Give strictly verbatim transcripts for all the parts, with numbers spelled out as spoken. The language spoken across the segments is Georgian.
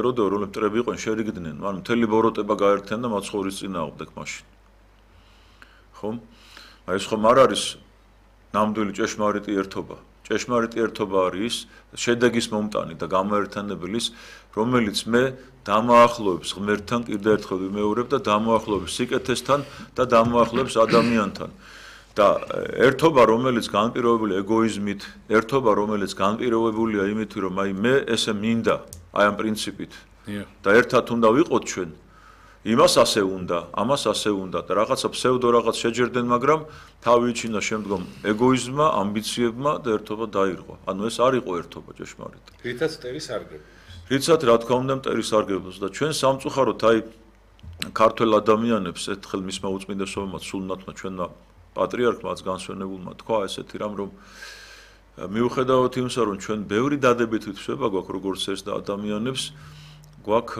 როდო რომ მტრები იყვნენ შერიგდნენ, ანუ მთელი ბოროტება გაერთიანდა მათ ხოვრის წინააღმდეგ მაშინ. ხომ? აი ეს ხომ არ არის ნამდვილი ჭეშმარიტი ერთობა. ჭეშმარიტი ერთობა არის შედეგის მომტანი და გამოერთიანებლის, რომელიც მე დამოახლოებს ღმერთთან კიდევ ერთხელ ვიმეორებ და დამოახლოებს სიკეთესთან და დამოახლოებს ადამიანთან. და ერთობა, რომელიც განპირობებულია ეგოიზმით, ერთობა, რომელიც განპირობებულია იმით, რომ აი მე ესე მინდა, აი ამ პრინციპით. და ერთად უნდა ვიყოთ ჩვენ, იმას ასე უნდა, ამას ასე უნდა და რაღაცა ფსევდო რაღაც შეჯერდნენ, მაგრამ თავი იჩინა შემდგომ ეგოიზმმა, ამბიციებმა და ერთობა დაირღვა. ანუ ეს არ იყო ერთობა ჭეშმარიტი. რითაც მტერი სარგებლობს. რითაც რა თქმა უნდა მტერი სარგებლობს და ჩვენ სამწუხაროდ აი ქართველ ადამიანებს ერთხელ მისმა უწმინდესობამ სულნათმა ჩვენმა პატრიარქმაც განსვენებულმა თქვა ესეთი რამ რომ მიუხედავად იმისა რომ ჩვენ ბევრი დადებითი თვისება გვაქვს როგორც ეს და ადამიანებს გვაქვს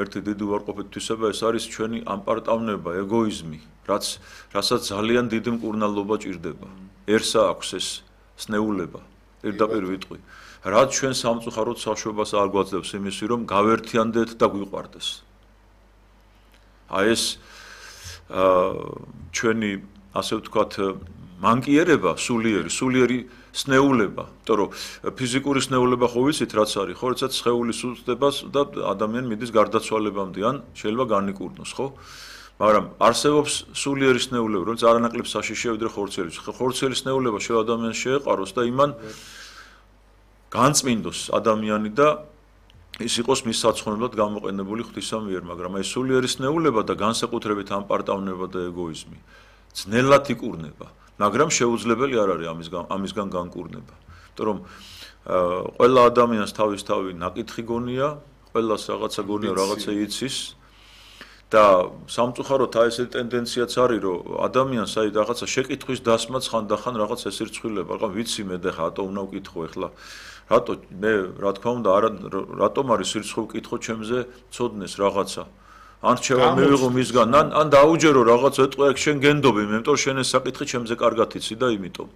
ერთი დიდი უარყოფითი თვისება ეს არის ჩვენი ამპარტავნება, ეგოიზმი, რაც რასაც ძალიან დიდი მკურნალობა ჭირდება.ერსა აქვს ეს სნეულება, პირდაპირ ვიტყვი. რაც ჩვენ სამწუხაროდ საშუალებას არ გვაძლევს იმისი რომ გავერთიანდეთ და გვიყვარდეს. აი ეს ჩვენი ასე ვთქვათ მანკიერება სულიერი, სულიერი სნეულება, იმიტომ რომ ფიზიკური სნეულება ხო ვიცით რაც არის, ხო, როდესაც სხეული სუსტდება და ადამიანი მიდის გარდაცვალებამდე ან შეიძლება განიკურნოს, ხო? მაგრამ არსებობს სულიერი სნეულება, რომელიც არანაკლებ საშიშია ვიდრე ხორცელი. ხორცელი სნეულება შე ადამიანს შეეყაროს და იმან განწმინდოს ადამიანი და ის იყოს მის საცხოვნებლად გამოყენებული ღვთისა მიერ, მაგრამ აი სულიერი სნეულება და განსაკუთრებით ამპარტავნება და ეგოიზმი ძნელად იკურნება, მაგრამ შეუძლებელი არ არის ამისგან ამისგან განკურნება. იმიტომ რომ ყველა ადამიანს თავისთავი ნაკითხი გონია, ყველას რაღაცა გონია, რაღაცა იცის და სამწუხაროდ აი ესეთი ტენდენციაც არის, რომ ადამიანს აი რაღაცა შეკითხვის დასმაც ხანდახან რაღაც ესირცხვილება, რა ვიცი მე და ხა რატო უნდა ვკითხო ეხლა რატო მე რა თქმა უნდა არა რატომ არის სირცხვა ვკითხო ჩემზე ცოდნეს რაღაცა ან რჩევა მივიღო მისგან ან ან დაუჯერო რაღაც ეტყვი აქ შენ გენდობი მე იმიტომ შენ ეს საკითხი ჩემზე კარგად იცი და იმიტომ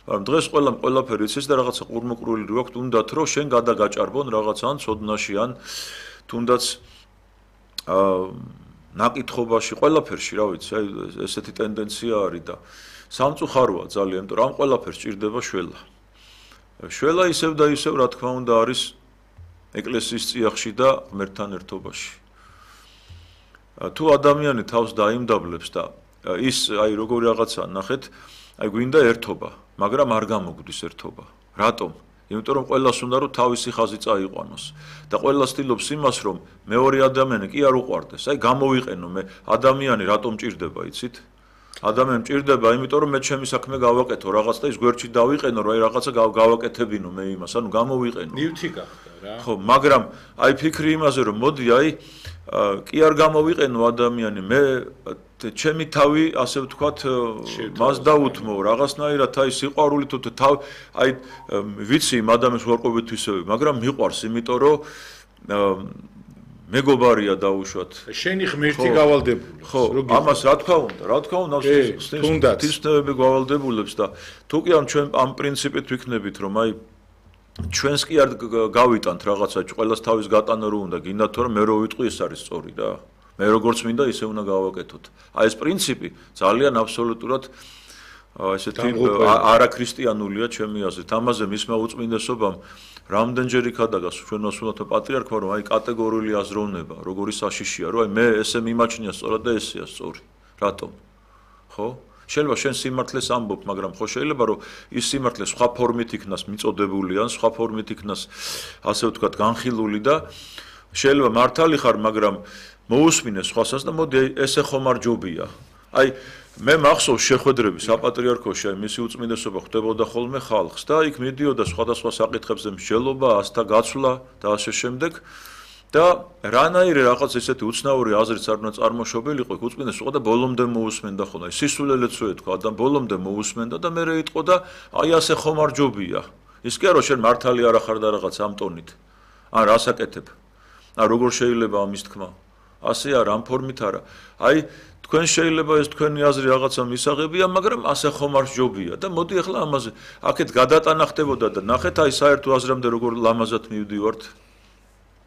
მაგრამ დღეს ყველამ ყველაფერი იცის და რაღაცა ყურმოყრული რო აქვს თუნდაც რომ შენ გადაგაჭარბონ რაღაცა ან ცოდნაში ან თუნდაც აა ნაკითხობაში ყველაფერში რა ვიცი აი ესეთი ტენდენცია არის და სამწუხაროა ძალიან იმიტომ რომ ამ ყველაფერს ჭირდება შველა შველა ისევ და ისევ რა თქმა უნდა არის ეკლესიის წიაღში და ღმერთთან ერთობაში. თუ ადამიანი თავს დაიმდაბლებს და ის აი როგორი რაღაცა ნახეთ, აი გვინდა ერთობა, მაგრამ არ გამოგვდის ერთობა. რატომ? იმიტომ რომ ყველას უნდა რომ თავისი ხაზი წაიყვანოს და ყველა ცდილობს იმას რომ მეორე ადამიანი კი არ უყვარდეს. აი გამოვიყენო მე ადამიანი რატომ ჭირდება, იცით? ადამიანი მჭირდება, იმიტომ რომ მე ჩემი საქმე გავაკეთო რაღაც და ის გვერდში დავიყენო, რომ აი რაღაცა გავაკეთებინო მე იმას, ანუ გამოვიყენო. ნივთი გახდა რა. ხო, მაგრამ აი ფიქრი იმაზე რომ მოდი აი კი არ გამოვიყენო ადამიანი, მე ჩემი თავი ასე ვთქვათ მას დაუთმო რაღაცნაირად აი სიყვარული თუ თავ აი ვიცი იმ ადამიანს უარყოფით თვისებები, მაგრამ მიყვარს, იმიტომ რომ მეგობარია დაუშვათ. შენი ღმერთი გავალდებულებს. ხო, ამას რა თქმა უნდა, რა თქმა უნდა, თვითმფრინავები გავალდებულებს და თუ კი ამ ჩვენ ამ პრინციპით ვიქნებით, რომ აი ჩვენს კი არ გავიტანთ რაღაცა, ყველას თავის გატანა რო უნდა, გინდათ თუ რა მე რო ვიტყვი ეს არის სწორი რა. მე როგორც მინდა ისე უნდა გავაკეთოთ. აი ეს პრინციპი ძალიან აბსოლუტურად ესეთი არაქრისტიანულია ჩემი აზრით. ამაზე მისმა უწმინდესობამ რამდენჯერ იქადაგას ჩვენ ოსმალთა პატრიარქმა რომ აი კატეგორიული აზროვნება, როგორი საშიშია, რომ აი მე ესე მიმაჩნია სწორად და ესეა სწორი. რატომ? ხო? შეიძლება შენ სიმართლეს ამბობ, მაგრამ ხო შეიძლება რომ ის სიმართლე სხვა ფორმით იქნას მიწოდებული ან სხვა ფორმით იქნას ასე ვთქვათ განხილული და შეიძლება მართალი ხარ, მაგრამ მოусმინე სხვასაც და მოდი ესე ხომ არ ჯობია. აი მე მახსოვს შეხვედრები საპატრიარქოში, აი მისი უწმინდესობა ხვდებოდა ხოლმე ხალხს და იქ მიდიოდა სხვადასხვა საკითხებზე მსჯელობა, ასთა გაცვლა და ასე შემდეგ და რანაირი რაღაც ესეთი უცნაური აზრიც არ უნდა წარმოშობილიყო, იქ უწმინდესობა და ბოლომდე მოусმენდა ხოლმე. აი სისულელეც რო ეთქვა და ბოლომდე მოусმენდა და მე იტყო და აი ასე ხომ არ ჯობია. ის კი არა შენ მართალი არ ახარ და რაღაც ამ ტონით. ან რას აკეთებ? ან როგორ შეიძლება ამის თქმა? ასე არა, ამ ფორმით არა. აი თქვენ შეიძლება ეს თქვენი აზრი რაღაცა მისაღებია, მაგრამ ასე ხომ არ ჯობია და მოდი ახლა ამაზე აქეთ გადატანა ხდებოდა და ნახეთ აი საერთო აზრამდე როგორ ლამაზად მივდივართ.